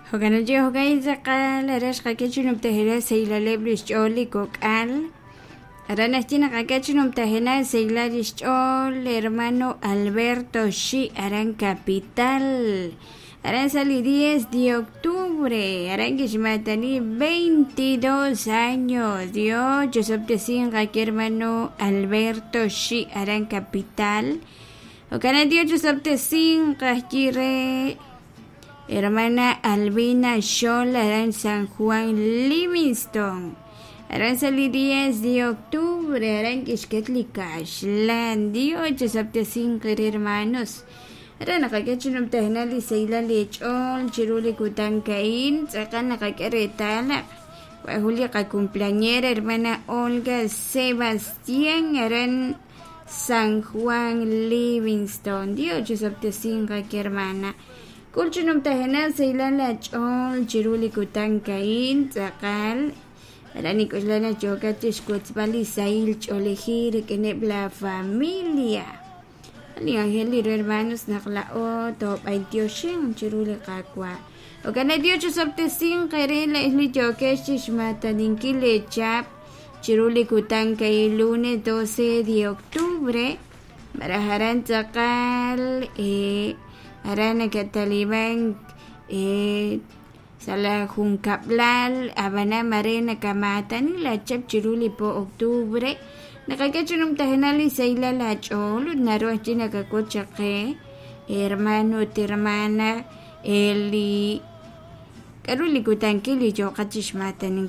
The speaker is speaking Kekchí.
Jo'kan jo'kan tz'aqal aran xqak'e chi numtajenaq saylaleb' li xch'ool li kok'al. Aran naxye naq ak'e chi numtajenaq saylal li xch'ool hermano Alberto Xi aran Capital. Aran sa li 10 de octubre aran kixmatani 22 años. Dios chosob'tesinqa ki hermano Alberto Xi aran Capital. Jo'kan Dios chosob'tesinqa re hermana Albina Xol aran San Juan Livingston. Aran sa li 10 de octubre aran kixket li kaxlan. Dios chosob'tesinqa re hermanos. Aran naqak'e chi numtajenaq li saylal li ch'ool chiru li kutan ka'in tz'aqal naqak'e reetal naq wajun li qacumpleañera hermana Olga Sebastián aran San Juan Livingston. Dios chosob'tesinqa ki hermana. K'ul chi numtajenaq saylal la ch'ool chiru li kutan ka'in tz'aqal aran nik'uxlana yokat chixwotzb'al li sahil ch'oolejil rik'ineb' la familia. Li ángel li hermanos naq la'o toob'aytioxin chiru li Qaawa'. Jo'kan Dios chosob'tesinqa re li yokex chixmataninkil li chap chiru li kutan ka'in lunes 12 de octubre. Malaj aran tz'aqal aran nakataliban sa la junkab'lal ab'anan mare nakamatani la chap chiru li po octubre naqak'e chi numtajenaq li saylal la ch'ool ut naru ajwi' nakak'ut chaq qe hermano ut hermana li k'aru li kutankil li yooqat chixmataninkil.